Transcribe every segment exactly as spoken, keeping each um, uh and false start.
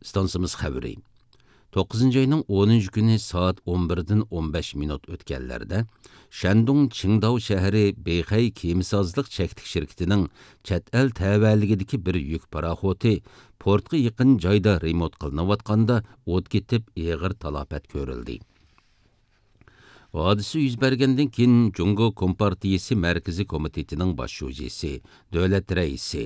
ئىستانسىمىز خەۋىرى. توققۇزىنچى ئاينىڭ ئونىنچى كۈنى سائەت ئون بىردىن ئون بەش مىنۇت ئۆتكەنلەردە، شەندۇڭ چىڭداۋ شەھىرى بېيخەي كېمىسازلىق چەكلىك شىركىتىنىڭ چەت ئەل تەۋەلىكىدىكى بىر يۈك پاراخوتى پورتقا يېقىن جايدا رېمونت قىلىنىۋاتقاندا ئوت كېتىپ، ئېغىر تالاپەت كۆرۈلدى. ھادىسە يۈز بەرگەندىن كېيىن، جۇڭگو كومپارتىيىسى مەركىزىي كومىتېتىنىڭ باش شۇجىسى، دۆلەت رەئىسى،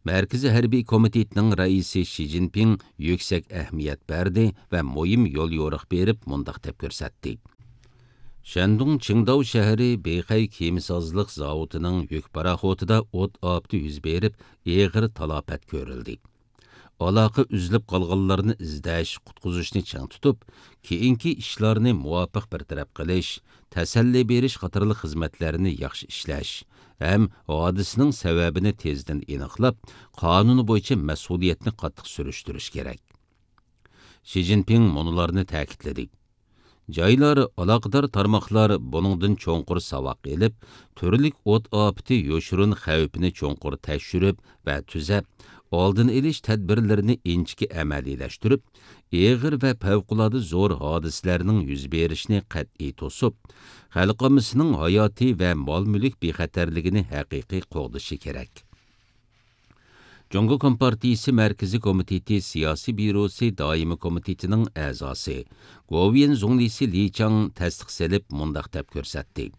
مەركىزىي ھەربىي كومىتېتنىڭ رەئىسى شى جىنپىڭ يۈكسەك ئەھمىيەت بەردى ۋە مۇھىم يوليورۇق بېرىپ، مۇنداق دەپ كۆرسەتتى: شەندۇڭ چىڭداۋ شەھىرى بېيخەي كېمىسازلىق زاۋۇتىنىڭ يۈك پاراخوتىدا ئوت ئاپىتى يۈز بېرىپ، ئېغىر تالاپەت كۆرۈلدى. ئالاقە ئۈزۈلۈپ قالغانلارنى ئىزدەش، قۇتقۇزۇشنى چىڭ تۇتۇپ، كېيىنكى ئىشلارنى مۇۋاپىق بىر تەرەپ قىلىش، تەسەللى بېرىش قاتارلىق خىزمەتلەرنى ياخشى ئىشلەش ھەم ھادىسىنىڭ سەۋەبىنى تېزدىن ئېنىقلاپ، قانۇن بويىچە مەسئۇلىيەتنى قاتتىق سۈرۈشتۈرۈش كېرەك. شى جىنپىڭ مۇنۇلارنى تەكىتلىدى: جايلار، ئالاقىدار تارماقلار بۇنىڭدىن چوڭقۇر ساۋاق ئېلىپ، تۈرلۈك ئوت ئاپىتى يوشۇرۇن خەۋپىنى چوڭقۇر تەكشۈرۈپ ۋە تۈزەپ، ئالدىنى ئېلىش تەدبىرلىرىنى ئىنچىكە ئەمەلىيلەشتۈرۈپ، ئېغىر ۋە پەۋقۇلئاددە زور ھادىسىلەرنىڭ يۈز بېرىشىنى قەتئىي توسۇپ، خەلق ئاممىسىنىڭ ھاياتى ۋە مال-مۈلۈك بىخەتەرلىكىنى ھەقىقىي قوغدىشى كېرەك. جۇڭگو كومپارتىيىسى مەركىزىي كومىتېتى سىياسىي بيۇروسى دائىمىي كومىتېتىنىڭ ئەزاسى، گوۋۇيۈەن زۇڭلىسى لى چاڭ تەستىق سېلىپ، مۇنداق دەپ كۆرسەتتى: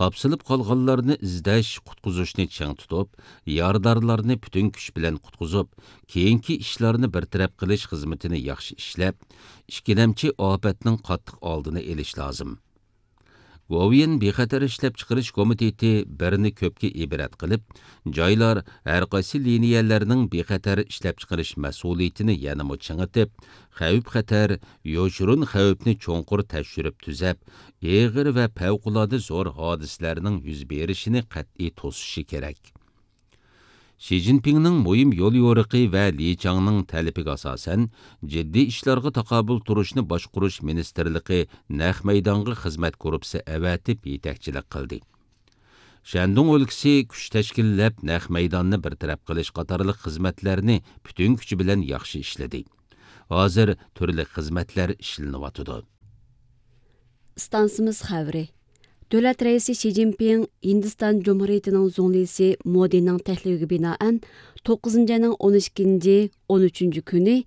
قاپسىلىپ قالغانلارنى ئىزدەش، قۇتقۇزۇشنى چىڭ تۇتۇپ، يارىدارلارنى پۈتۈن كۈچ بىلەن قۇتقۇزۇپ، كېيىنكى ئىشلارنى بىر تەرەپ قىلىش خىزمىتىنى ياخشى ئىشلەپ، ئىككىلەمچى ئاپەتنىڭ قاتتىق ئالدىنى ئېلىش لازىم. گوۋۇيۈەن بىخەتەر ئىشلەپچىقىرىش كومىتېتى بىرنى كۆپكە ئىبرەت قىلىپ، جايلار ھەرقايسى لىنىيەلەرنىڭ بىخەتەر ئىشلەپچىقىرىش مەسئۇلىيىتىنى يەنىمۇ چىڭىتىپ، خەۋپ-خەتەر، يوشۇرۇن خەۋپنى چوڭقۇر تەكشۈرۈپ تۈزەپ، ئېغىر ۋە پەۋقۇلئاددە زور ھادىسىلەرنىڭ يۈز بېرىشىنى قەتئىي توسۇشى كېرەك. شى جىنپىڭنىڭ مۇھىم يوليورۇقى ۋە لى چاڭنىڭ تەلىپىگە ئاساسەن، جىددىي ئىشلارغا تاقابىل تۇرۇشنى باشقۇرۇش مىنىستىرلىقى نەق مەيدانغا خىزمەت گۇرۇپپىسى ئەۋەتىپ يېتەكچىلىك قىلدى. شەندۇڭ ئۆلكىسى كۈچ تەشكىللەپ، نەق مەيداننى بىر تەرەپ قىلىش قاتارلىق خىزمەتلەرنى پۈتۈن كۈچى بىلەن ياخشى ئىشلىدى. ھازىر تۈرلۈك خىزمەتلەر ئىشلىنىۋاتىدۇ. ئىستانسىمىز خەۋىرى. دۆلەت رەئىسى شى جىنپىڭ ھىندىستان جۇمھۇرىيىتىنىڭ زۇڭلىسى مودىنىڭ تەكلىپىگە بىنائەن، توققۇزىنچى ئاينىڭ ئون ئىككىنچى، ئون ئۈچىنچى كۈنى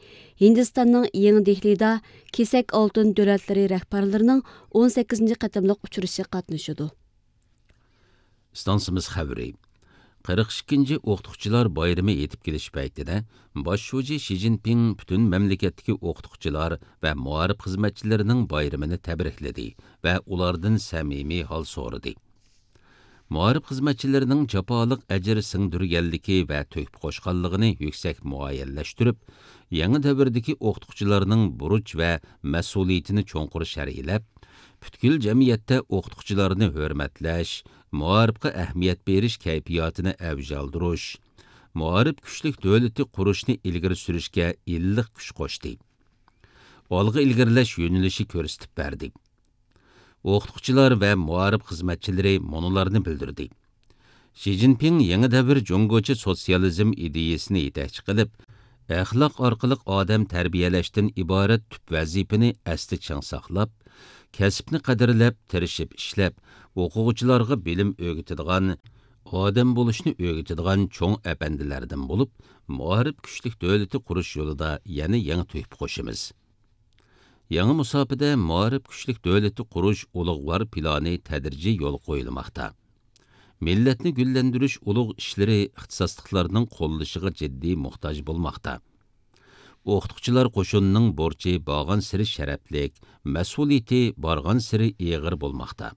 ھىندىستاننىڭ يېڭى دېھلىدا كېسەك ئالتۇن دۆلەتلىرى رەھبەرلىرىنىڭ ئون سەككىزىنچى قېتىملىق ئۇچرىشىشىغا قاتنىشىدۇ. ئىستانسىمىز خەۋىرى. قىرىق ئىككىنچى ئوقۇتقۇچىلار بايرىمى يېتىپ كېلىش پەيتىدە، باش شۇجى شى جىنپىڭ پۈتۈن مەملىكەتتىكى ئوقۇتقۇچىلار ۋە مائارىپ خىزمەتچىلىرىنىڭ بايرىمىنى تەبرىكلىدى ۋە ئۇلاردىن سەمىمىي ھال سورىدى. مائارىپ خىزمەتچىلىرىنىڭ جاپالىق ئەجىر سىڭدۈرگەنلىكى ۋە تۆھپە قوشقانلىقىنى يۈكسەك مۇئەييەنلەشتۈرۈپ، يېڭى دەۋردىكى ئوقۇتقۇچىلارنىڭ بۇرچ ۋە مەسئۇلىيىتىنى چوڭقۇر شەرھلەپ، پۈتكۈل جەمئىيەتتە ئوقۇتقۇچىلارنى ھۆرمەتلەش، مائارىپقا ئەھمىيەت بېرىش كەيپىياتىنى ئەۋج ئالدۇرۇش، مائارىپ كۈچلۈك دۆلىتى قۇرۇشنى ئىلگىرى سۈرۈشكە ئىللىق كۈچ قوشتى. ئالغا ئىلگىرىلەش يۆنىلىشى كۆرسىتىپ بەردى. ئوقۇتقۇچىلار ۋە مائارىپ خىزمەتچىلىرى مۇنۇلارنى بىلدۈردى. شى جىنپىڭ يېڭى دەۋر جۇڭگوچە سوتسىيالىزم ئىدىيەسىنى يېتەكچى قىلىپ، ئەخلاق ئارقىلىق ئادەم تەربىيەلەشتىن ئىبارەت تۈپ ۋەزىپىنى ئەستە چىڭ ساقلاپ، كەسىپنى قەدىرلەپ، تىرىشىپ ئىشلەپ، ئوقۇغۇچىلارغا بىلىم ئۆگىتىدىغان، ئادەم بولۇشنى ئۆگىتىدىغان چوڭ ئەپەندىلەردىن بولۇپ، مائارىپ كۈچلۈك دۆلىتى قۇرۇش يولىدا يەنە يېڭى تۆھپە قوشىمىز. يېڭى مۇساپىدە مائارىپ كۈچلۈك دۆلىتى قۇرۇش ئۇلۇغۋار پىلانى تەدرىجىي يولغا قويۇلماقتا. مىللەتنى گۈللەندۈرۈش ئۇلۇغ ئىشلىرى ئىختىساسلىقلارنىڭ قوللىشىغا جىددىي موھتاج بولماقتا. ئوقۇتقۇچىلار قوشۇنىنىڭ بۇرچى بارغانسېرى شەرەپلىك، مەسئۇلىيىتى بارغانسېرى ئېغىر بولماقتا.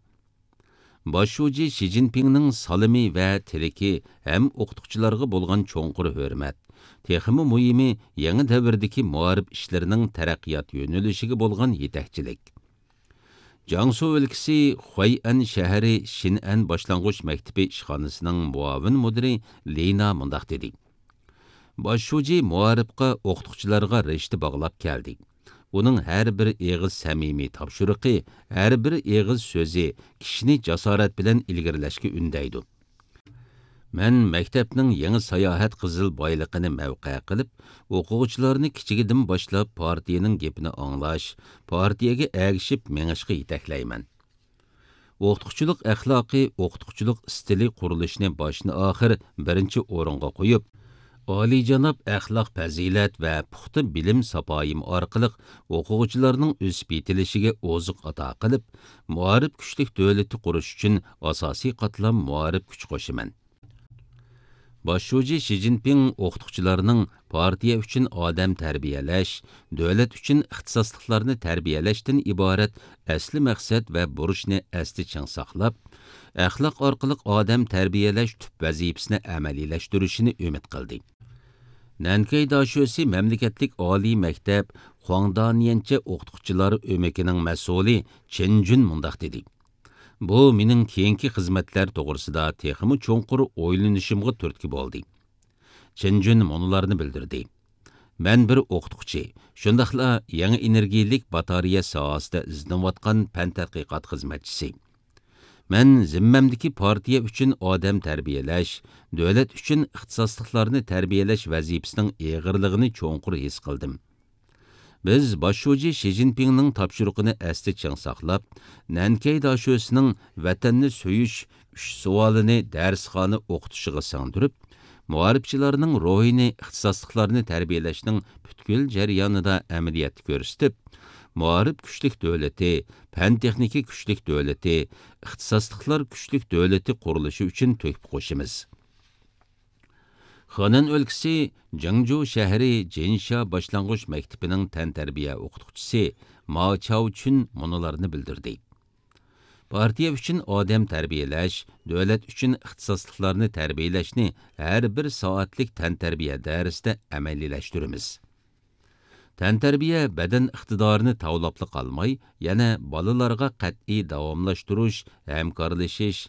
باش شۇجى شى جىنپىڭنىڭ سالىمى ۋە تىلىكى ھەم ئوقۇتقۇچىلارغا بولغان چوڭقۇر ھۆرمەت، تېخىمۇ مۇھىمى، يېڭى دەۋردىكى مائارىپ ئىشلىرىنىڭ تەرەققىيات يۆنىلىشىگە بولغان يېتەكچىلىك. جياڭسۇ ئۆلكىسى خۇەيئەن شەھىرى شىنئەن باشلانغۇچ مەكتىپى ئىشخانىسىنىڭ مۇئاۋىن مۇدىرى لىنا مۇنداق دېدى: باش شۇجى مائارىپقا، ئوقۇتقۇچىلارغا رىشتە باغلاپ كەلدى. ئۇنىڭ ھەر بىر ئېغىز سەمىمىي تاپشۇرۇقى، ھەر بىر ئېغىز سۆزى كىشىنى جاسارەت بىلەن ئىلگىرىلەشكە ئۈندەيدۇ. مەن مەكتەپنىڭ يېڭى ساياھەت قىزىل بايلىقىنى مەۋقە قىلىپ، ئوقۇغۇچىلارنى كىچىكىدىن باشلاپ پارتىيەنىڭ گېپىنى ئاڭلاش، پارتىيەگە ئەگىشىپ مېڭىشقا يېتەكلەيمەن. ئوقۇتقۇچىلىق ئەخلاقى، ئوقۇتقۇچىلىق ئىستىلى قۇرۇلۇشىنى باشتىن-ئاخىر بىرىنچى ئورۇنغا قويۇپ، ئالىيجاناب ئەخلاق-پەزىلەت ۋە پۇختا بىلىم ساپايىم ئارقىلىق ئوقۇغۇچىلارنىڭ ئۆسۈپ يېتىلىشىگە ئوزۇق ئاتا قىلىپ، مائارىپ كۈچلۈك دۆلىتى قۇرۇش ئۈچۈن ئاساسىي قاتلام مائارىپ كۈچ قوشىمەن. باش شۇجى شى جىنپىڭ ئوقۇتقۇچىلارنىڭ پارتىيە ئۈچۈن ئادەم تەربىيەلەش، دۆلەت ئۈچۈن ئىختىساسلىقلارنى تەربىيەلەشتىن ئىبارەت ئەسلى مەقسەت ۋە بۇرچنى ئەستە چىڭ ساقلاپ، ئەخلاق ئارقىلىق ئادەم تەربىيەلەش تۈپ ۋەزىپىسىنى ئەمەلىيلەشتۈرۈشىنى ئۈمىد قىلدى. نەنكەي داشۆسى مەملىكەتلىك ئالىي مەكتەپ خۇاڭدانيەنچە ئوقۇتقۇچىلار ئۆمىكىنىڭ مەسئۇلى چېن جۈن مۇنداق دېدى: بۇ مېنىڭ كېيىنكى خىزمەتلەر توغرىسىدا تېخىمۇ چوڭقۇر ئويلىنىشىمغا تۈرتكە بولدى. چېن جۈن مۇنۇلارنى بىلدۈردى: مەن بىر ئوقۇتقۇچى، شۇنداقلا يېڭى ئېنېرگىيەلىك باتارېيە ساھەسىدە ئىزدىنىۋاتقان پەن تەتقىقات خىزمەتچىسى. مەن زىممەمدىكى پارتىيە ئۈچۈن ئادەم تەربىيەلەش، دۆلەت ئۈچۈن ئىختىساسلىقلارنى تەربىيەلەش ۋەزىپىسىنىڭ ئېغىرلىقىنى چوڭقۇر ھېس قىلدىم. بىز باش شۇجى شى جىنپىڭنىڭ تاپشۇرۇقىنى ئەستە چىڭ ساقلاپ، نەنكەي داشۆسىنىڭ ۋەتەننى سۆيۈش ئۈچ سوئالىنى دەرسخانا ئوقۇتۇشىغا سىڭدۈرۈپ، مائارىپچىلارنىڭ روھىنى ئىختىساسلىقلارنى تەربىيەلەشنىڭ پۈتكۈل جەريانىدا ئەمەلىيەتتە كۆرسىتىپ، مائارىپ كۈچلۈك دۆلىتى، پەن تېخنىكا كۈچلۈك دۆلىتى، ئىختىساسلىقلار كۈچلۈك دۆلىتى قۇرۇلۇشى ئۈچۈن تۆھپە قوشىمىز. خېنەن ئۆلكىسى جېڭجۇ شەھىرى جىنشا باشلانغۇچ مەكتىپىنىڭ تەنتەربىيە ئوقۇتقۇچىسى ما چاۋچۈن مۇنۇلارنى بىلدۈردى: پارتىيە ئۈچۈن ئادەم تەربىيەلەش، دۆلەت ئۈچۈن ئىختىساسلىقلارنى تەربىيەلەشنى ھەر بىر سائەتلىك تەنتەربىيە دەرسىدە ئەمەلىيلەشتۈرىمىز. تەنتەربىيە بەدەن ئىقتىدارىنى تاۋلاپلا قالماي، يەنە بالىلارغا قەتئىي داۋاملاشتۇرۇش، ھەمكارلىشىش،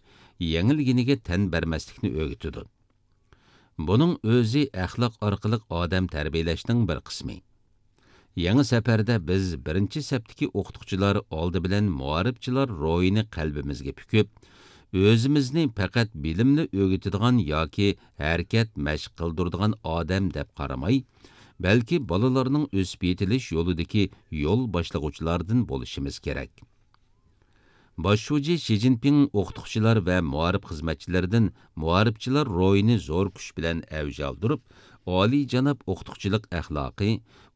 يېڭىلگىنىگە تەن بەرمەسلىكنى ئۆگىتىدۇ. بۇنىڭ ئۆزى ئەخلاق ئارقىلىق ئادەم تەربىيەلەشنىڭ بىر قىسمى. يېڭى سەپەردە بىز بىرىنچى سەپتىكى ئوقۇتقۇچىلار ئالدى بىلەن مائارىپچىلار روھىنى قەلبىمىزگە پۈكۈپ، ئۆزىمىزنى پەقەت بىلىملا ئۆگىتىدىغان ياكى ھەرىكەت مەشىق قىلدۇرىدىغان ئادەم دەپ قارىماي، بەلكى بالىلارنىڭ ئۆسۈپ يېتىلىش يولىدىكى يول باشلىغۇچىلاردىن بولۇشىمىز كېرەك. باش شۇجى شى جىنپىڭ ئوقۇتقۇچىلار ۋە مائارىپ خىزمەتچىلىرىدىن مائارىپچىلار روھىنى زور كۈچ بىلەن ئەۋج ئالدۇرۇپ، ئالىيجاناب ئوقۇتقۇچىلىق ئەخلاقى،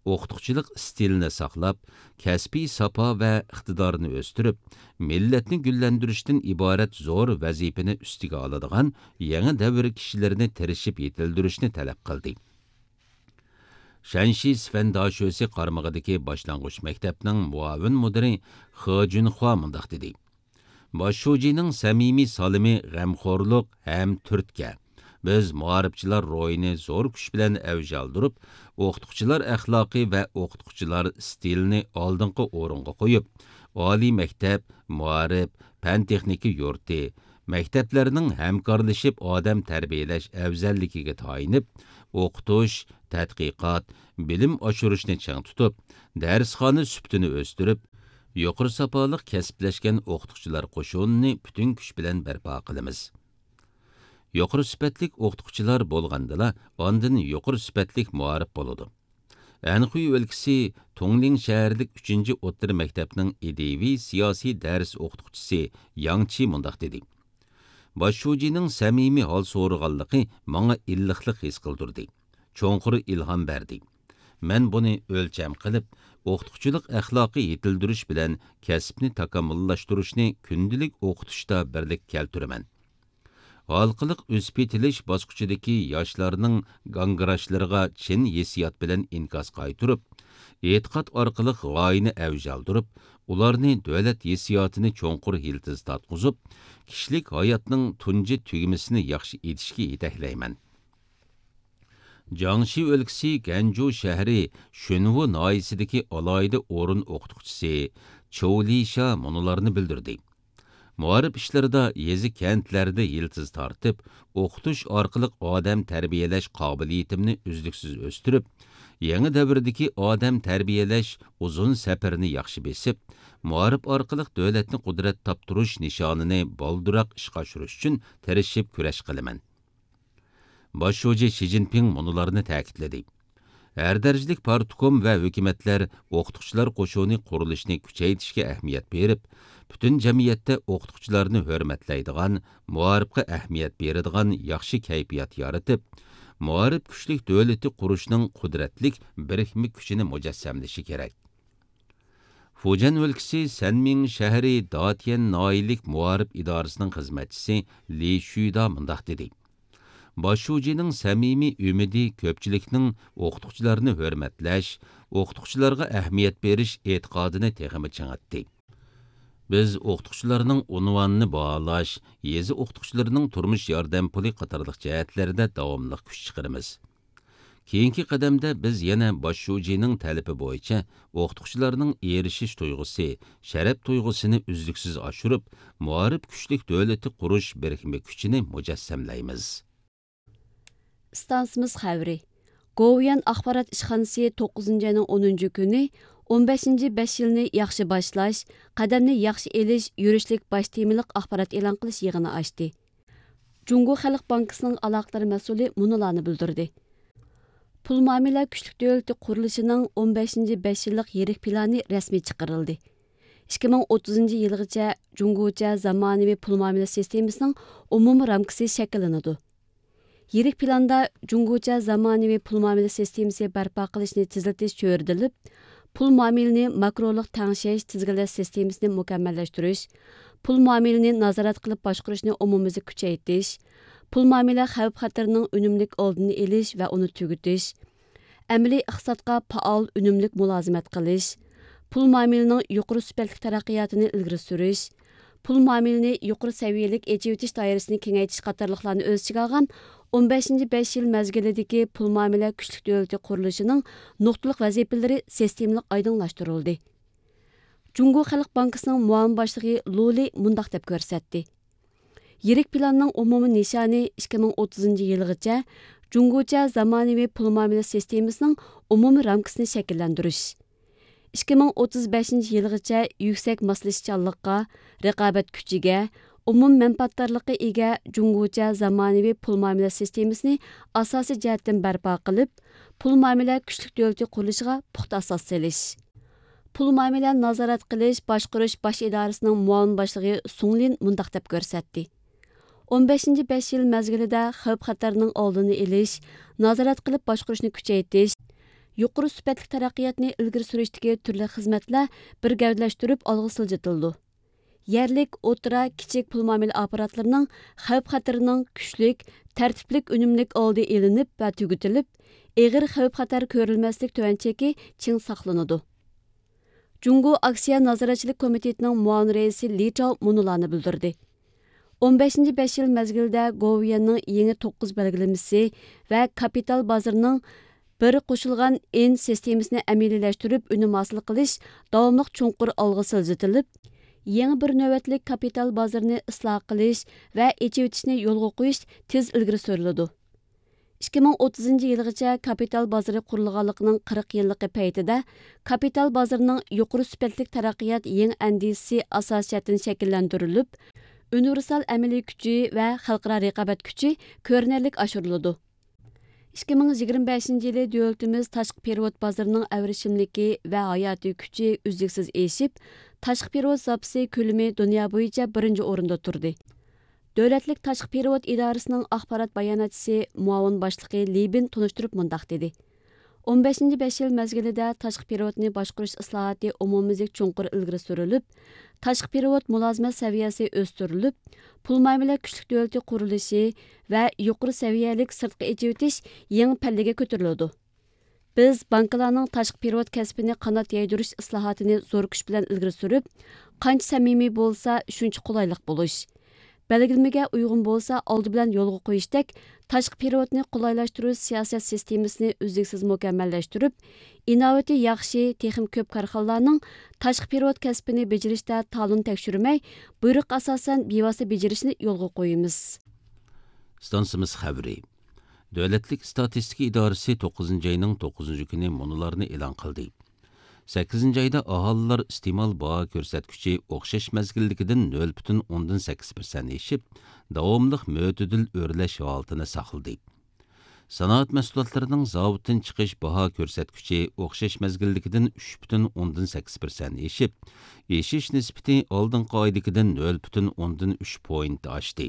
ئوقۇتقۇچىلىق ئىستىلىنى ساقلاپ، كەسپىي ساپا ۋە ئىقتىدارنى ئۆستۈرۈپ، مىللەتنى گۈللەندۈرۈشتىن ئىبارەت زور ۋەزىپىنى ئۈستىگە ئالىدىغان يېڭى دەۋر كىشىلىرىنى تىرىشىپ يېتىلدۈرۈشنى تەلەپ قىلدى. شەنشى سىفەن داشۆسى قارمىقىدىكى باشلانغۇچ مەكتەپنىڭ مۇئاۋىن مۇدىرى خې جۈنخۇا مۇنداق دېدى: باش شۇجىنىڭ سەمىمىي سالىمى غەمخورلۇق ھەم تۈرتكە. بىز مائارىپچىلار روھىنى زور كۈچ بىلەن ئەۋج ئالدۇرۇپ، ئوقۇتقۇچىلار ئەخلاقى ۋە ئوقۇتقۇچىلار ئىستىلىنى ئالدىنقى ئورۇنغا قويۇپ، ئالىي مەكتەپ، مائارىپ، پەن تېخنىكا يۇرتى، مەكتەپلەرنىڭ ھەمكارلىشىپ ئادەم تەربىيەلەش ئەۋزەللىكىگە تايىنىپ، ئوقۇتۇش، تەتقىقات، بىلىم ئاشۇرۇشنى چىڭ تۇتۇپ، دەرسخانا سۈپىتىنى ئۆستۈرۈپ، يۇقىرى ساپالىق كەسىپلەشكەن ئوقۇتقۇچىلار قوشۇنىنى پۈتۈن كۈچ بىلەن بەرپا قىلىمىز. يۇقىرى سۈپەتلىك ئوقۇتقۇچىلار بولغاندىلا، ئاندىن يۇقىرى سۈپەتلىك مائارىپ بولىدۇ. ئەنخۇي ئۆلكىسى تۇڭلىڭ شەھەرلىك ئۈچىنچى ئوتتۇرا مەكتەپنىڭ ئىدىيىۋى سىياسىي دەرس ئوقۇتقۇچىسى ياڭ چى مۇنداق دېدى: باش شۇجىنىڭ سەمىمىي ھال سورىغانلىقى ماڭا ئىللىقلىق ھېس قىلدۇردى، چوڭقۇر ئىلھام بەردى. مەن بۇنى ئۆلچەم قىلىپ، ئوقۇتقۇچىلىق ئەخلاقى يېتىلدۈرۈش بىلەن كەسىپنى تاكامۇللاشتۇرۇشنى كۈندىلىك ئوقۇتۇشتا بىرلىككە كەلتۈرىمەن. ھالقىلىق ئۆسۈپ يېتىلىش باسقۇچىدىكى ياشلارنىڭ گاڭگىراشلىرىغا چىن ھېسسىيات بىلەن ئىنكاس قايتۇرۇپ، ئېتىقاد ئارقىلىق غايىنى ئەۋج ئالدۇرۇپ، ئۇلارنى دۆلەت ھېسسىياتىنى چوڭقۇر يىلتىز تارتقۇزۇپ، كىشىلىك ھاياتنىڭ تۇنجى تۈگمىسىنى ياخشى ئېتىشكە يېتەكلەيمەن. جياڭشى ئۆلكىسى گەنجۇ شەھىرى شۈنۋۇ ناھىيەسىدىكى ئالاھىدە ئورۇن ئوقۇتقۇچىسى چوۋ لىشا مۇنۇلارنى بىلدۈردى: مائارىپ ئىشلىرىدا يېزا، كەنتلەردە يىلتىز تارتىپ، ئوقۇتۇش ئارقىلىق ئادەم تەربىيەلەش قابىلىيىتىمنى ئۈزلۈكسىز ئۆستۈرۈپ، يېڭى دەۋردىكى ئادەم تەربىيەلەش ئۇزۇن سەپىرىنى ياخشى بېسىپ، مائارىپ ئارقىلىق دۆلەتنى قۇدرەت تاپتۇرۇش نىشانىنى بالدۇرراق ئىشقا ئاشۇرۇش ئۈچۈن تىرىشىپ كۈرەش قىلىمەن. باش شۇجى شى جىنپىڭ مۇنۇلارنى تەكىتلىدى: ھەر دەرىجىلىك پارتكوم ۋە ھۆكۈمەتلەر ئوقۇتقۇچىلار قوشۇنى قۇرۇلۇشىنى كۈچەيتىشكە ئەھمىيەت بېرىپ، پۈتۈن جەمئىيەتتە ئوقۇتقۇچىلارنى ھۆرمەتلەيدىغان، مائارىپقا ئەھمىيەت بېرىدىغان ياخشى كەيپىيات يارىتىپ، مائارىپ كۈچلۈك دۆلىتى قۇرۇشنىڭ قۇدرەتلىك بىرىكمە كۈچىنى مۇجەسسەملىشى كېرەك. فۇجيەن ئۆلكىسى سەنمىڭ شەھىرى داتيەن ناھىيەلىك مائارىپ ئىدارىسىنىڭ خىزمەتچىسى لى شۈيدا مۇنداق دېدى: باش شۇجىنىڭ سەمىمىي ئۈمىدى كۆپچىلىكنىڭ ئوقۇتقۇچىلارنى ھۆرمەتلەش، ئوقۇتقۇچىلارغا ئەھمىيەت بېرىش ئېتىقادىنى تېخىمۇ چىڭىتتى. بىز ئوقۇتقۇچىلارنىڭ ئۇنۋانىنى باھالاش، يېزا ئوقۇتقۇچىلىرىنىڭ تۇرمۇش ياردەم پۇلى قاتارلىق جەھەتلەردە داۋاملىق كۈچ چىقىرىمىز. كېيىنكى قەدەمدە بىز يەنە باش شۇجىنىڭ تەلىپى بويىچە ئوقۇتقۇچىلارنىڭ ئېرىشىش تۇيغۇسى، شەرەپ تۇيغۇسىنى ئۈزلۈكسىز ئاشۇرۇپ، مائارىپ كۈچلۈك دۆلىتى قۇرۇش بىرىكمە كۈچىنى مۇجەسسەملەيمىز. ئىستانسىمىز خەۋىرى. گوۋۇيۈەن ئاخبارات ئىشخانىسى توققۇزىنچى ئاينىڭ ئونىنچى كۈنى ئون بەشىنچى بەش يىلنى ياخشى باشلاش، قەدەمنى ياخشى ئېلىش يۈرۈشلۈك باش تېمىلىق ئاخبارات ئېلان قىلىش يىغىنى ئاچتى. جۇڭگو خەلق بانكىسىنىڭ ئالاقىدار مەسئۇلى مۇنۇلارنى بىلدۈردى: پۇل مۇئامىلە كۈچلۈك دۆلىتى قۇرۇلۇشىنىڭ ئون بەشىنچى بەش يىللىق يىرىك پىلانى رەسمىي چىقىرىلدى. ئىككى مىڭ ئوتتۇزىنچى يىلغىچە جۇڭگوچە زامانىۋى پۇل مۇئامىلە سىستېمىسىنىڭ ئومۇمىي رامكىسى شەكىللىنىدۇ. يىرىك پىلاندا جۇڭگوچە زامانىۋى پۇل مۇئامىلە سىستېمىسى بەرپا قىلىشنى تېزلىتىش چۆرىدىلىپ، پۇل مۇئامىلىنى ماكرولۇق تەڭشەش، تىزگىنلەش سىستېمىسىنى مۇكەممەللەشتۈرۈش، پۇل مۇئامىلىنى نازارەت قىلىپ باشقۇرۇشنى ئومۇميۈزلۈك كۈچەيتىش، پۇل مۇئامىلە خەۋپ-خەتىرىنىڭ ئۈنۈملۈك ئالدىنى ئېلىش ۋە ئۇنى تۈگىتىش، ئەمەلىي ئىقتىسادقا پائال، ئۈنۈملۈك مۇلازىمەت قىلىش، پۇل مۇئامىلىنىڭ يۇقىرى سۈپەتلىك تەرەققىياتىنى ئىلگىرى سۈرۈش، پۇل مۇئامىلىنى يۇقىرى سەۋىيەلىك ئېچىۋېتىش دائىرىسىنى كېڭەيتىش قاتارلىقلارنى ئۆز ئىچىگە ئالغان ئون بەشىنچى بەش يىل مەزگىلىدىكى پۇل مۇئامىلە كۈچلۈك دۆلىتى قۇرۇلۇشىنىڭ نۇقتىلىق ۋەزىپىلىرى سىستېمىلىق ئايدىڭلاشتۇرۇلدى. جۇڭگو خەلق بانكىسىنىڭ مۇئاۋىن باشلىقى لۇ لى مۇنداق دەپ كۆرسەتتى: يىرىك پىلاننىڭ ئومۇمىي نىشانى ئىككى مىڭ ئوتتۇزىنچى يىلغىچە جۇڭگوچە زامانىۋى پۇل مۇئامىلە سىستېمىسىنىڭ ئومۇمىي رامكىسىنى شەكىللەندۈرۈش. ئىككى مىڭ ئوتتۇز بەشىنچى يىلغىچە يۈكسەك ماسلىشىشچانلىققا، رىقابەت كۈچىگە، ئومۇم مەنپەئەتدارلىققا ئىگە جۇڭگوچە زامانىۋى پۇل مۇئامىلە سىستېمىسىنى ئاساسىي جەھەتتىن بەرپا قىلىپ، پۇل مۇئامىلە كۈچلۈك دۆلىتى قۇرۇلۇشىغا پۇختا ئاساس سېلىش. پۇل مۇئامىلە نازارەت قىلىش باشقۇرۇش باش ئىدارىسىنىڭ مۇئاۋىن باشلىقى سۇڭ لىن مۇنداق دەپ كۆرسەتتى: ئون بەشىنچى بەش يىل مەزگىلىدە خەۋپ-خەتەرنىڭ ئالدىنى ئېلىش، نازارەت قىلىپ باشقۇرۇشنى كۈچەيتىش، يۇقىرى سۈپەتلىك تەرەققىياتنى ئىلگىرى سۈرۈشتىكى تۈرلۈك خىزمەتلەر بىر گەۋدىلەشتۈرۈپ ئالغا سىلجىتىلىدۇ. يەرلىك، ئوتتۇرا، كىچىك پۇل مۇئامىلە ئاپپاراتلىرىنىڭ خەۋپ-خەتىرىنىڭ كۈچلۈك، تەرتىپلىك، ئۈنۈملۈك ئالدى ئېلىنىپ ۋە تۈگىتىلىپ، ئېغىر خەۋپ-خەتەر كۆرۈلمەسلىك تۆۋەن چېكى چىڭ ساقلىنىدۇ. جۇڭگو ئاكسىيە نازارەتچىلىك كومىتېتىنىڭ مۇئاۋىن رەئىسى لى چاۋ مۇنۇلارنى بىلدۈردى: ئون بەشىنچى بەش يىل مەزگىلىدە گوۋۇيۈەننىڭ يېڭى توققۇز بەلگىلىمىسى ۋە كاپىتال بازىرىنىڭ بىر قوشۇلغان ئىن سىستېمىسىنى ئەمەلىيلەشتۈرۈپ ئۈنۈم ھاسىل قىلىش داۋاملىق چوڭقۇر ئالغا سىلجىتىلىپ، يېڭى بىر نۆۋەتلىك كاپىتال بازىرىنى ئىسلاھ قىلىش ۋە ئېچىۋېتىشنى يولغا قويۇش تېز ئىلگىرى سۈرۈلىدۇ. ئىككى مىڭ ئوتتۇزىنچى يىلغىچە كاپىتال بازىرى قۇرۇلغانلىقىنىڭ قىرىق يىللىقى پەيتىدە، كاپىتال بازىرىنىڭ يۇقىرى سۈپەتلىك تەرەققىيات يېڭى ئەندىزىسى ئاساسىي جەھەتتىن شەكىللەندۈرۈلۈپ، ئۇنىۋېرسال ئەمەلىي كۈچى ۋە خەلقئارا رىقابەت كۈچى كۆرۈنەرلىك ئاشۇرۇلىدۇ. ئىككى مىڭ يىگىرمە بەشىنچى يىلى دۆلىتىمىز تاشقى پېرېۋوت بازىرىنىڭ ئەۋرىشىملىكى ۋە ھاياتىي كۈچى ئۈزلۈكسىز ئېشىپ، تاشقى پېرېۋوت زاپىسى كۆلىمى دۇنيا بويىچە بىرىنچى ئورۇندا تۇردى. دۆلەتلىك تاشقى پېرېۋوت ئىدارىسىنىڭ ئاخبارات باياناتچىسى مۇئاۋىن باشلىقى لى بىن تونۇشتۇرۇپ مۇنداق دېدى: ئون بەشىنچى بەش يىل مەزگىلىدە تاشقى پېرېۋوتنى باشقۇرۇش ئىسلاھاتى ئومۇميۈزلۈك چوڭقۇر ئىلگىرى سۈرۈلۈپ، تاشقى پېرېۋوت مۇلازىمەت سەۋىيەسى ئۆستۈرۈلۈپ، پۇل مۇئامىلە كۈچلۈك دۆلىتى قۇرۇلۇشى ۋە يۇقىرى سەۋىيەلىك سىرتقا ئېچىۋېتىش يېڭى پەللىگە كۆتۈرۈلىدۇ. بىز بانكىلارنىڭ تاشقى پېرېۋوت كەسپىنى قانات يايدۇرۇش ئىسلاھاتىنى زور كۈچ بىلەن ئىلگىرى سۈرۈپ، قانچە سەمىمىي بولسا، شۇنچە قولايلىق بولۇش، بەلگىلىمىگە ئۇيغۇن بولسا، ئالدى بىلەن يولغا قويۇشتەك، تاشقى پېرېۋوتنى قولايلاشتۇرۇش سىياسەت سىستېمىسىنى ئۈزلۈكسىز مۇكەممەللەشتۈرۈپ، ئىناۋىتى ياخشى، تېخىمۇ كۆپ كارخانىلارنىڭ تاشقى پېرېۋوت كەسپىنى بېجىرىشتە تالون تەكشۈرمەي، بۇيرۇققا ئاساسەن بىۋاسىتە بېجىرىشنى يولغا قويىمىز. ئىستانسىمىز خەۋىرى. دۆلەتلىك ئىستاتىستىكا ئىدارىسى توققۇزىنچى ئاينىڭ توققۇزىنچى كۈنى مۇنۇلارنى ئېلان قىلدى. سەككىزىنچى ئايدا ئاھالىلەر ئىستېمال باھا كۆرسەتكۈچى ئوخشاش مەزگىلدىكىدىن نۆل پۈتۈن ئوندىن سەككىز پىرسەنت ئېشىپ، داۋاملىق مۆتىدىل ئۆرلەش ھالىتىنى ساقلىدى. سانائەت مەھسۇلاتلىرىنىڭ زاۋۇتتىن چىقىش باھا كۆرسەتكۈچى ئوخشاش مەزگىلدىكىدىن ئۈچ پۈتۈن ئوندىن سەككىز پىرسەنت ئېشىپ، ئېشىش نىسبىتى ئالدىنقى ئايدىكىدىن نۆل پۈتۈن ئوندىن ئۈچ پوينت ئاشتى.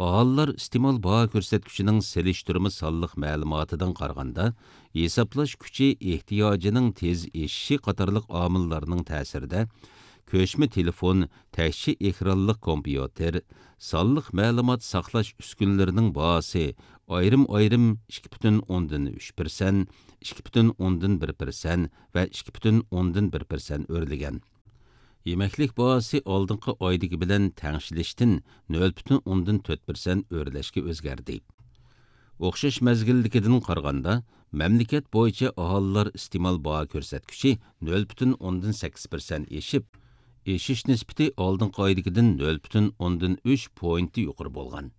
ئاھالىلەر ئىستېمال باھا كۆرسەتكۈچىنىڭ سېلىشتۇرما سانلىق مەلۇماتىدىن قارىغاندا، ھېسابلاش كۈچى ئېھتىياجىنىڭ تېز ئېشىشى قاتارلىق ئامىللارنىڭ تەسىرىدە، كۆچمە تېلېفون، تەكشى ئېكرانلىق كومپيۇتېر، سانلىق مەلۇمات ساقلاش ئۈسكۈنىلىرىنىڭ باھاسى ئايرىم-ئايرىم ئىككى پۈتۈن ئوندىن ئۈچ پىرسەنت، ئىككى پۈتۈن ئوندىن بىر پىرسەنت ۋە ئىككى پۈتۈن ئوندىن بىر پىرسەنت ئۆرلىگەن. يېمەكلىك باھاسى ئالدىنقى ئايدىكى بىلەن تەڭشىلىشتىن نۆل پۈتۈن ئوندىن تۆت پىرسەنت ئۆرلەشكە ئۆزگەردى. ئوخشاش مەزگىلدىكىدىن قارىغاندا، مەملىكەت بويىچە ئاھالىلەر ئىستېمال باھا كۆرسەتكۈچى نۆل پۈتۈن ئوندىن سەككىز پىرسەنت ئېشىپ، ئېشىش نىسبىتى ئالدىنقى ئايدىكىدىن نۆل پۈتۈن ئوندىن ئۈچ پوينت يۇقىرى بولغان.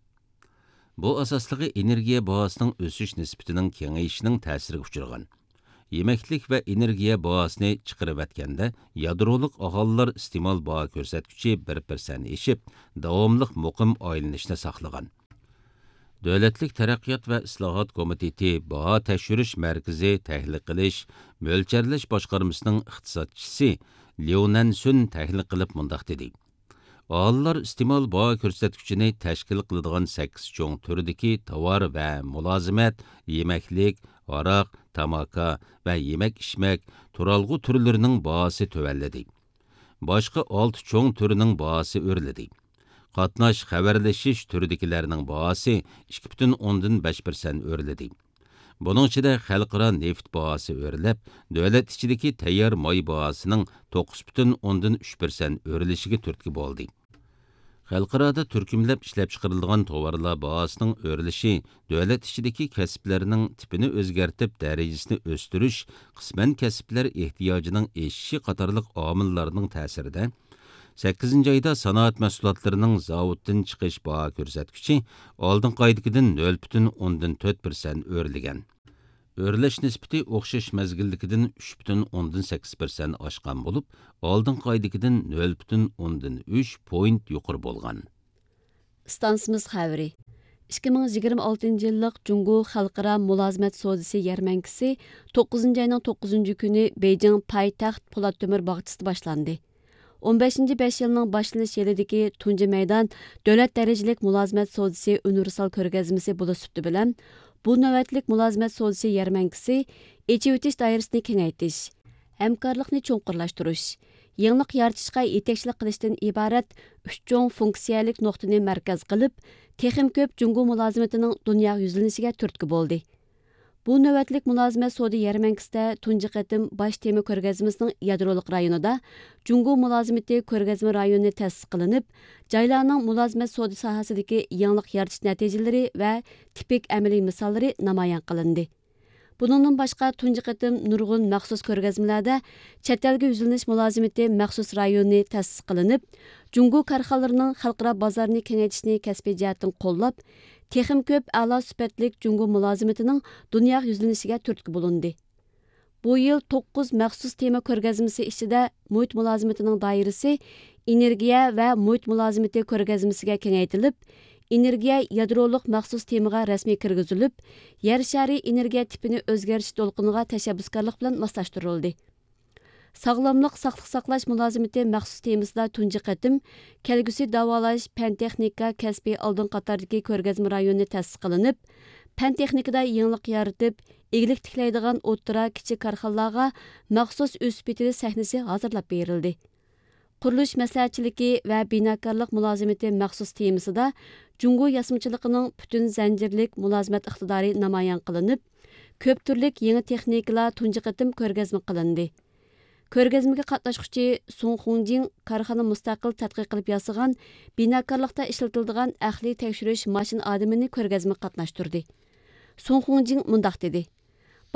بۇ ئاساسلىقى ئېنېرگىيە باھاسىنىڭ ئۆسۈش نىسبىتىنىڭ كېڭىيىشىنىڭ تەسىرىگە ئۇچرىغان. يېمەكلىك ۋە ئېنېرگىيە باھاسىنى چىقىرىۋەتكەندە، يادرولۇق ئاھالىلەر ئىستېمال باھا كۆرسەتكۈچى بىر پىرسەنت ئېشىپ، داۋاملىق مۇقىم ئايلىنىشنى ساقلىغان. دۆلەتلىك تەرەققىيات ۋە ئىسلاھات كومىتېتى باھا تەكشۈرۈش مەركىزى تەھلىل قىلىش، مۆلچەرلەش باشقارمىسىنىڭ ئىقتىسادچىسى ليۇ نەنسۈن تەھلىل قىلىپ مۇنداق دېدى: ئاھالىلەر ئىستېمال باھا كۆرسەتكۈچىنى تەشكىل قىلىدىغان سەككىز چوڭ تۈردىكى تاۋار ۋە مۇلازىمەت، يېمەكلىك، ھاراق، تاماكا ۋە يېمەك-ئىچمەك، تۇرالغۇ تۈرلىرىنىڭ باھاسى تۆۋەنلىدى. باشقا ئالتە چوڭ تۈرنىڭ باھاسى ئۆرلىدى. قاتناش، خەۋەرلىشىش تۈرىدىكىلەرنىڭ باھاسى ئىككى پۈتۈن ئوندىن بەش پىرسەنت ئۆرلىدى. بۇنىڭ ئىچىدە خەلقئارا نېفىت باھاسى ئۆرلەپ، دۆلەت ئىچىدىكى تەييار ماي باھاسىنىڭ توققۇز پۈتۈن ئوندىن ئۈچ پىرسەنت ئۆرلىشىگە تۈرتكە بولدى. خەلقئارادا تۈركۈملەپ ئىشلەپچىقىرىلىدىغان تاۋارلار باھاسىنىڭ ئۆرلىشى دۆلەت ئىچىدىكى كەسىپلەرنىڭ تىپىنى ئۆزگەرتىپ، دەرىجىسىنى ئۆستۈرۈش، قىسمەن كەسىپلەر ئېھتىياجىنىڭ ئېشىشى قاتارلىق ئامىللارنىڭ تەسىرىدە، سەككىزىنچى ئايدا سانائەت مەھسۇلاتلىرىنىڭ زاۋۇتتىن چىقىش باھا كۆرسەتكۈچى ئالدىنقى ئايدىكىدىن نۆل پۈتۈن ئوندىن تۆت پىرسەنت ئۆرلىگەن. ئۆرلەش نىسبىتى ئوخشاش مەزگىلدىكىدىن ئۈچ پۈتۈن ئوندىن سەككىز پىرسەنت ئاشقان بولۇپ، ئالدىنقى ئايدىكىدىن نۆل پۈتۈن ئوندىن ئۈچ پوينت يۇقىرى بولغان. ئىستانسىمىز خەۋىرى. ئىككى مىڭ يىگىرمە ئالتىنچى يىللىق جۇڭگو خەلقئارا مۇلازىمەت سودىسى يەرمەنكىسى توققۇزىنچى ئاينىڭ توققۇزىنچى كۈنى بېيجىڭ پايتەخت پولات تۆمۈر باغچىسىدا باشلاندى. ئون بەشىنچى بەش يىلنىڭ باشلىنىش يىلىدىكى تۇنجى مەيدان دۆلەت دەرىجىلىك مۇلازىمەت سودىسى ئۇنىۋېرسال كۆرگەزمىسى بولۇش سۈپىتى بىلەن، بۇ نۆۋەتلىك مۇلازىمەت سودىسى يەرمەنكىسى ئېچىۋېتىش دائىرىسىنى كېڭەيتىش، ھەمكارلىقنى چوڭقۇرلاشتۇرۇش، يېڭىلىق يارىتىشقا يېتەكچىلىك قىلىشتىن ئىبارەت ئۈچ چوڭ فۇنكسىيەلىك نۇقتىنى مەركەز قىلىپ، تېخىمۇ كۆپ جۇڭگو مۇلازىمىتىنىڭ دۇنياغا يۈزلىنىشىگە تۈرتكە بولدى. بۇ نۆۋەتلىك مۇلازىمەت سودا يەرمەنكىسىدە تۇنجى قېتىم باش تېما كۆرگەزمىسىنىڭ يادرولۇق رايونىدا جۇڭگو مۇلازىمىتى كۆرگەزمە رايونى تەسىس قىلىنىپ، جايلارنىڭ مۇلازىمەت سودا ساھەسىدىكى يېڭىلىق يارىتىش نەتىجىلىرى ۋە تىپىك ئەمەلىي مىساللىرى نامايان قىلىندى. بۇنىڭدىن باشقا، تۇنجى قېتىم نۇرغۇن مەخسۇس كۆرگەزمىلەردە چەت ئەلگە يۈزلىنىش مۇلازىمىتى مەخسۇس رايونى تەسىس قىلىنىپ، جۇڭگو كارخانىلىرىنىڭ خەلقئارا بازارنى كېڭەيتىشنى كەسپىي جەھەتتىن قوللاپ، تېخىمۇ كۆپ ئەلا سۈپەتلىك جۇڭگو مۇلازىمىتىنىڭ دۇنياغا يۈزلىنىشىگە تۈرتكە بولۇندى. بۇ يىل توققۇز مەخسۇس تېما كۆرگەزمىسى ئىچىدە مۇھىت مۇلازىمىتىنىڭ دائىرىسى ئېنېرگىيە ۋە مۇھىت مۇلازىمىتى كۆرگەزمىسىگە كېڭەيتىلىپ، ئېنېرگىيە يادرولۇق مەخسۇس تېمىغا رەسمىي كىرگۈزۈلۈپ، يەر شارى ئېنېرگىيە تىپىنى ئۆزگەرتىش دولقۇنىغا تەشەببۇسكارلىق بىلەن ماسلاشتۇرۇلدى. ساغلاملىق ساقلىق ساقلاش مۇلازىمىتى مەخسۇس تېمىسىدا تۇنجى قېتىم كەلگۈسى داۋالاش پەن تېخنىكا كەسپىي ئالدىنقى قاتاردىكى كۆرگەزمە رايونى تەسىس قىلىنىپ، پەن تېخنىكىدا يېڭىلىق يارىتىپ، ئىگىلىك تىكلەيدىغان ئوتتۇرا، كىچىك كارخانىلارغا مەخسۇس ئۆسۈپ يېتىلىش سەھنىسى ھازىرلاپ بېرىلدى. قۇرۇلۇش مەسلىھەتچىلىكى ۋە بىناكارلىق مۇلازىمىتى مەخسۇس تېمىسىدا جۇڭگو ياسىمىچىلىقىنىڭ پۈتۈن زەنجىرلىك مۇلازىمەت ئىقتىدارى نامايان قىلىنىپ، كۆپ تۈرلۈك يېڭى تېخنىكىلار تۇنجى قېتىم كۆرگەزمە قىلىندى. كۆرگەزمىگە قاتناشقۇچى سۇڭ خۇڭجىڭ كارخانا مۇستەقىل تەتقىق قىلىپ ياسىغان بىناكارلىقتا ئىشلىتىلىدىغان ئەقلىي تەكشۈرۈش ماشىنا ئادىمىنى كۆرگەزمىگە قاتناشتۇردى. سۇڭ خۇڭجىڭ مۇنداق دېدى: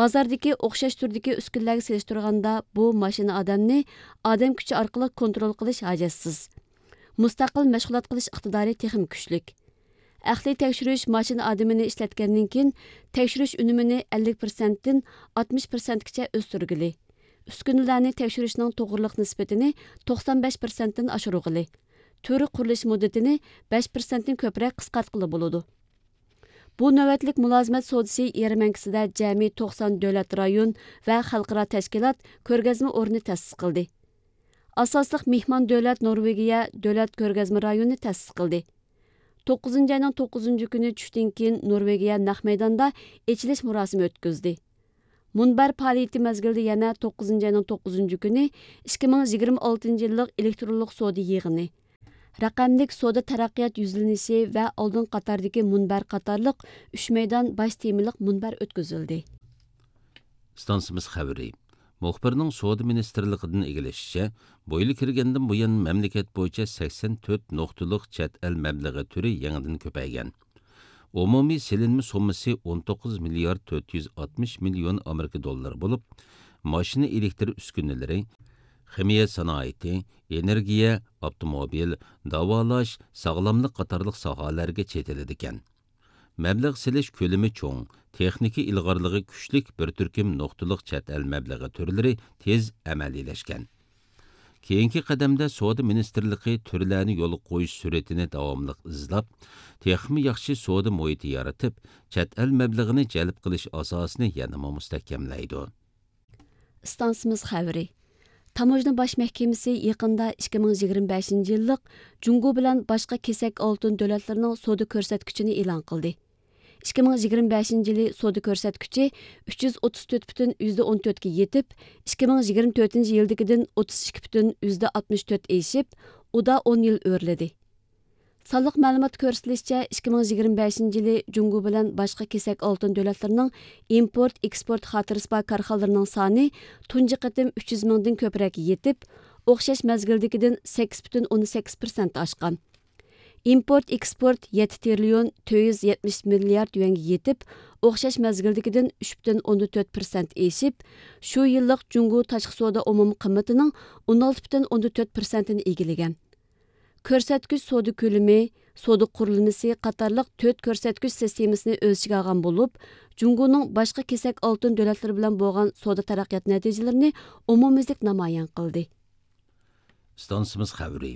بازاردىكى ئوخشاش تۈردىكى ئۈسكۈنىلەرگە سېلىشتۇرغاندا، بۇ ماشىنا ئادەمنى ئادەم كۈچى ئارقىلىق كونترول قىلىش ھاجەتسىز. مۇستەقىل مەشغۇلات قىلىش ئىقتىدارى تېخىمۇ كۈچلۈك. ئەقلىي تەكشۈرۈش ماشىنا ئادىمىنى ئىشلەتكەندىن كېيىن، تەكشۈرۈش ئۈنۈمىنى ئەللىك پىرسەنتتىن ئاتمىش پىرسەنتكىچە ئۆستۈرگىلى، ئۈسكۈنىلەرنى تەكشۈرۈشنىڭ توغرىلىق نىسبىتىنى توقسان بەش پىرسەنتتىن ئاشۇرغىلى، تۈر قۇرۇلۇش مۇددىتىنى بەش پىرسەنتتىن كۆپرەك قىسقارتقىلى بولىدۇ. بۇ نۆۋەتلىك مۇلازىمەت سودىسى يەرمەنكىسىدە جەمئىي توقسان دۆلەت رايون ۋە خەلقئارا تەشكىلات كۆرگەزمە ئورنى تەسىس قىلدى. ئاساسلىق مېھمان دۆلەت نورۋېگىيە دۆلەت كۆرگەزمە رايونى تەسىس قىلدى. توققۇزىنچى ئاينىڭ توققۇزىنچى كۈنى چۈشتىن كېيىن نورۋېگىيە نەق مەيداندا ئېچىلىش مۇراسىمى ئۆتكۈزدى. مۇنبەر پائالىيىتى مەزگىلىدە يەنە توققۇزىنچى ئاينىڭ توققۇزىنچى كۈنى ئىككى مىڭ يىگىرمە ئالتىنچى يىللىق ئېلېكترونلۇق سودا يىغىنى، رەقەملىك سودا تەرەققىيات يۈزلىنىشى ۋە ئالدىنقى قاتاردىكى مۇنبەر قاتارلىق ئۈچ مەيدان باش تېمىلىق مۇنبەر ئۆتكۈزۈلدى. ئىستانسىمىز خەۋىرى. مۇخبىرنىڭ سودا مىنىستىرلىقىدىن ئىگىلىشىچە، بۇ يىل كىرگەندىن بۇيان، مەملىكەت بويىچە سەكسەن تۆت نۇقتىلىق چەت ئەل مەبلىغى تۈرى يېڭىدىن كۆپەيگەن. ئومۇمىي سېلىنما سوممىسى ئون توققۇز مىليارد تۆت يۈز ئاتمىش مىليون ئامېرىكا دوللىرى بولۇپ، ماشىنا ئېلېكتر ئۈسكۈنىلىرى، خىمىيە سانائىتى، ئېنېرگىيە، ئاپتوموبىل، داۋالاش، ساغلاملىق قاتارلىق ساھەلەرگە چېتىلىدىكەن. مەبلەغ سېلىش كۆلىمى چوڭ، تېخنىكا ئىلغارلىقى كۈچلۈك بىر تۈركۈم نۇقتىلىق چەت ئەل مەبلىغى تۈرلىرى تېز ئەمەلىيلەشكەن. كېيىنكى قەدەمدە سودا مىنىستىرلىقى تۈرلەرنى يولغا قويۇش سۈرئىتىنى داۋاملىق ئىزلاپ، تېخىمۇ ياخشى سودا مۇھىتى يارىتىپ، چەت ئەل مەبلىغىنى جەلپ قىلىش ئاساسىنى يەنىمۇ مۇستەھكەملەيدۇ. ئىستانسىمىز خەۋىرى. تاموژنا باش مەھكىمىسى يېقىندا ئىككى مىڭ يىگىرمە بەشىنچى يىللىق جۇڭگو بىلەن باشقا كېسەك ئالتۇن دۆلەتلىرىنىڭ سودا كۆرسەتكۈچىنى ئېلان قىلدى. ئىككى مىڭ يىگىرمە بەشىنچى يىلى سودا كۆرسەتكۈچى ئۈچ يۈز ئوتتۇز تۆت پۈتۈن يۈزدە ئون تۆتكە يېتىپ، ئىككى مىڭ يىگىرمە تۆتىنچى يىلدىكىدىن ئوتتۇز ئىككى پۈتۈن يۈزدە ئاتمىش تۆت ئېشىپ، ئۇدا ئون يىل ئۆرلىدى. سانلىق مەلۇماتتا كۆرسىتىلىشىچە، ئىككى مىڭ يىگىرمە بەشىنچى يىلى جۇڭگو بىلەن باشقا كېسەك ئالتۇن دۆلەتلىرىنىڭ ئىمپورت، ئېكسپورت خاتىرىسى بار كارخانىلىرىنىڭ سانى تۇنجى قېتىم ئۈچ يۈز مىڭدىن كۆپرەككە يېتىپ، ئوخشاش مەزگىلدىكىدىن سەككىز پۈتۈن ئوندىن سەككىز پىرسەنت ئاشقان. ئىمپورت، ئېكسپورت يەتتە تىرىليون تۆت يۈز يەتمىش مىليارد يۈەنگە يېتىپ، ئوخشاش مەزگىلدىكىدىن ئۈچ پۈتۈن ئوندىن تۆت پىرسەنت ئېشىپ، شۇ يىللىق جۇڭگو تاشقى سودا ئومۇمىي قىممىتىنىڭ ئون ئالتە پۈتۈن ئوندىن تۆت پىرسەنتىنى ئىگىلىگەن. كۆرسەتكۈچ سودا كۆلىمى، سودا قۇرۇلمىسى قاتارلىق تۆت كۆرسەتكۈچ سىستېمىسىنى ئۆز ئىچىگە ئالغان بولۇپ، جۇڭگونىڭ باشقا كېسەك ئالتۇن دۆلەتلىرى بىلەن بولغان سودا تەرەققىيات نەتىجىلىرىنى ئومۇميۈزلۈك نامايان قىلدى. ئىستانسىمىز خەۋىرى.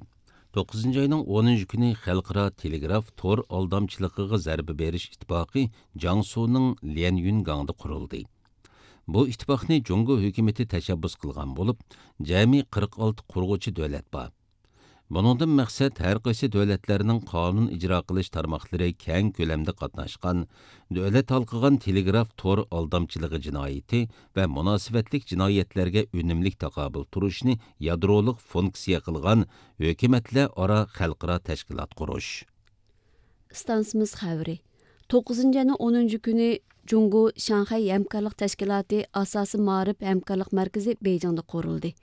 توققۇزىنچى ئاينىڭ ئونىنچى كۈنى خەلقئارا تېلېگراف تور ئالدامچىلىقىغا زەربە بېرىش ئىتتىپاقى جياڭسۇنىڭ ليەنيۈنگاڭدا قۇرۇلدى. بۇ ئىتتىپاقنى جۇڭگو ھۆكۈمىتى تەشەببۇس قىلغان بولۇپ، جەمئىي قىرىق ئالتە قۇرغۇچى دۆلەت بار. بۇنىڭدىن مەقسەت ھەر قايسى دۆلەتلەرنىڭ قانۇن ئىجرا قىلىش تارماقلىرى كەڭ كۆلەمدە قاتناشقان، دۆلەت ھالقىغان تېلېگراف تور ئالدامچىلىقى جىنايىتى ۋە مۇناسىۋەتلىك جىنايەتلەرگە ئۈنۈملۈك تاقابىل تۇرۇشنى يادرولۇق فۇنكسىيە قىلغان ھۆكۈمەتلەر ئارا خەلقئارا تەشكىلات قۇرۇش. ئىستانسىمىز خەۋىرى. توققۇزىنچى ئاينىڭ ئونىنچى كۈنى جۇڭگو شاڭخەي ھەمكارلىق تەشكىلاتى ئاساسىي مائارىپ ھەمكارلىق مەركىزى بېيجىڭدا قۇرۇلدى.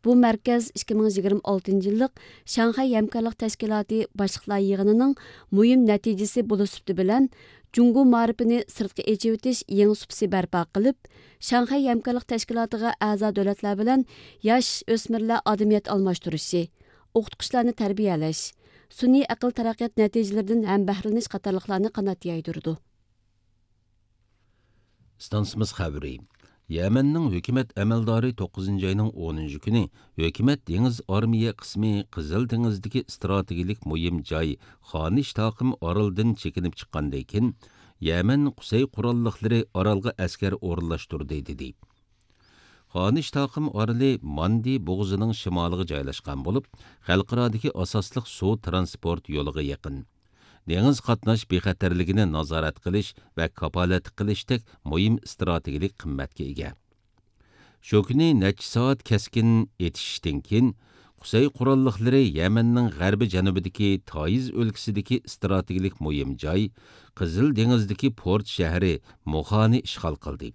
بۇ مەركەز ئىككى مىڭ يىگىرمە ئالتىنچى يىللىق شاڭخەي ھەمكارلىق تەشكىلاتى باشلىقلار يىغىنىنىڭ مۇھىم نەتىجىسى بولۇش سۈپىتى بىلەن، جۇڭگو مائارىپىنى سىرتقا ئېچىۋېتىش يېڭى سۇپىسى بەرپا قىلىپ، شاڭخەي ھەمكارلىق تەشكىلاتىغا ئەزا دۆلەتلەر بىلەن ياش ئۆسمۈرلەر ئادەمىيەت ئالماشتۇرۇشى، ئوقۇتقۇچىلارنى تەربىيەلەش، سۈنئىي ئەقىل تەرەققىيات نەتىجىلىرىدىن ھەمبەھرىلىنىش قاتارلىقلارنى قانات يايدۇرىدۇ. ئىستانسىمىز خەۋىرى. يەمەننىڭ ھۆكۈمەت ئەمەلدارى توققۇزىنچى ئاينىڭ ئونىنچى كۈنى ھۆكۈمەت دېڭىز ئارمىيە قىسمى قىزىل دېڭىزدىكى ئىستراتېگىيەلىك مۇھىم جاي خانىش تاقىم ئارىلىدىن چېكىنىپ چىققاندىن كېيىن، يەمەن قۇسەي قوراللىقلىرى ئارالغا ئەسكەر ئورۇنلاشتۇردى، دېدى. خانىش تاقىم ئارىلى ماندى بوغۇزىنىڭ شىمالىغا جايلاشقان بولۇپ، خەلقئارادىكى ئاساسلىق سۇ ترانسپورت يولىغا يېقىن. دېڭىز قاتناش بىخەتەرلىكىنى نازارەت قىلىش ۋە كاپالەتلىك قىلىشتەك مۇھىم ئىستراتېگىيەلىك قىممەتكە ئىگە. شۇ كۈنى نەچچە سائەت كەسكىن ئېتىشىشتىن كېيىن، قۇسەي قوراللىقلىرى يەمەننىڭ غەربىي جەنۇبىدىكى تائىز ئۆلكىسىدىكى ئىستراتېگىيەلىك مۇھىم جاي، قىزىل دېڭىزدىكى پورت شەھىرى موخانى ئىشغال قىلدى.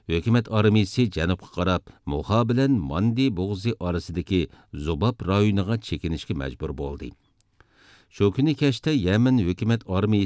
ھۆكۈمەت ئارمىيىسى جەنۇبقا قاراپ، موخا بىلەن ماندى بوغۇزى ئارىسىدىكى زۇباب رايونىغا چېكىنىشكە مەجبۇر بولدى. شۇ كۈنى كەچتە يەمەن ھۆكۈمەت ئارمىيىسى